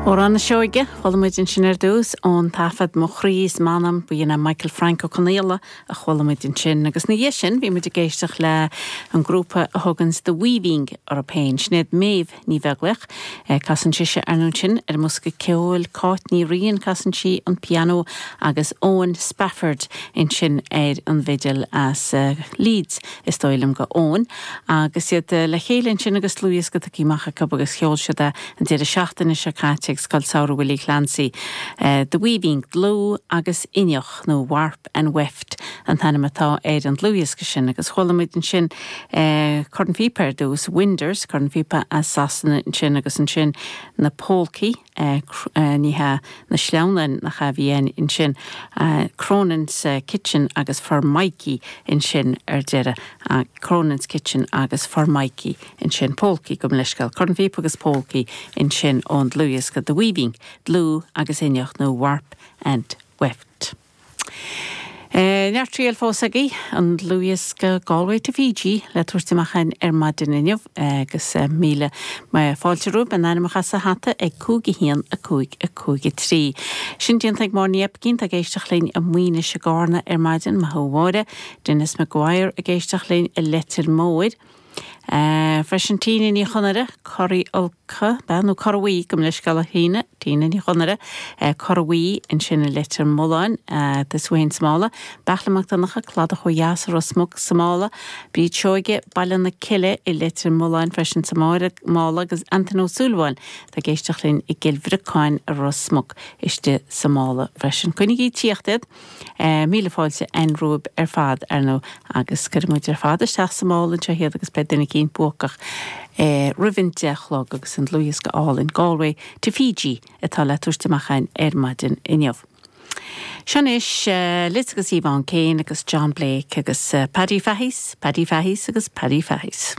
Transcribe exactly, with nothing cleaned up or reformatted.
Amhrán na Seoige, chuala muid ansin ar dtús ón taifead Mo Chroí is M'anam b'in é Michael Frank Ó Conaola a chuala muid ansin, agus ina dhiaidh sin bhí muid ag éisteacht le an grúpa a thugann The Weaving orthu féin, Sinéad Méabh Ní Bheaglaoich, casann sise ar ndóigh ansin ar an mbosca ceoil Cáit Ní Riain casann sí an pianó agus Owen Spafford ansin ar an bhfidil as Leeds is dóigh liom go Owen, agus iad le chéile ansin agus dlúthdhiosca tugtha amach acu agus sheol siad é an deireadh seachtaine seo caite ag Scoil Samhraidh Willie Clancy. Uh, The Weaving dlúth agus inneach nó Warp and Weft an t-ainm atá ar an dlúthdhiosca sin agus chuala muid ansin uh, Corn Phíopa ar dtús Winders, Corn Phíopa as Sasana ansin agus ansin na Polcaí uh, uh, ní hea na sleamhnáin nach a bhí ansin uh, Cronin's uh, Kitchen agus For Mikey ansin ar deireadh uh, Cronin's Kitchen agus For Mikey ansin Polcaí gabh mo leithscéal Corn Phíopa agus Polcaí ansin ón dlúthdhiosca The Weaving, dlúth agus inneach nó Warp and Weft. Uh, Neart triail fós agaibh an dlúthdhiosca Galway to Fiji le tabhairt amach ar maidin inniu agus uh, míle fáilte romhaibh an ainm sa hata ag cúig a haon a cúig a cúig a trí. Sin déanta ag Máire Ní Oibicín ag éisteacht linn i Maínis i gCarna ar maidin maith thú a Mháire, Dennis McGuire ag éisteacht linn i Leitir Móir. Uh, freisin Tina Ní Chonaire Corraí Ulca be nó Corraí gabh mo leithscéal a Thina Tina Ní Chonaire uh, Corraí ansin i Leitir Mealláin uh, de Swain Smála, Beachla MacDonnacha Cladach ó dheas Ros Muc sa Mála, Bríd Seoige Baile na Cille i Leitir Mealláin freisin sa Mála agus Antain Ó Súilleabháin tá ag éisteacht linn i gCill Bhriocáin i Ros Muc istigh sa Mála freisin. Coinnigí ag tíocht iad uh, míle fáilte an romhaibh ar fad ar ndóigh agus cuirfidh muid ar fad isteach sa mála anseo iad agus beidh duine éicint buacach eh, roimh an deich a chlog agus an dlúthdhiosca álainn Galway to Fiji atá le tabhairt amach ar maidin inniu. Seo anois uh, Liz agus Yvonne Kane agus John Blake agus uh, Paddy Fahey's, Paddy Fahey's agus Paddy Fahey's.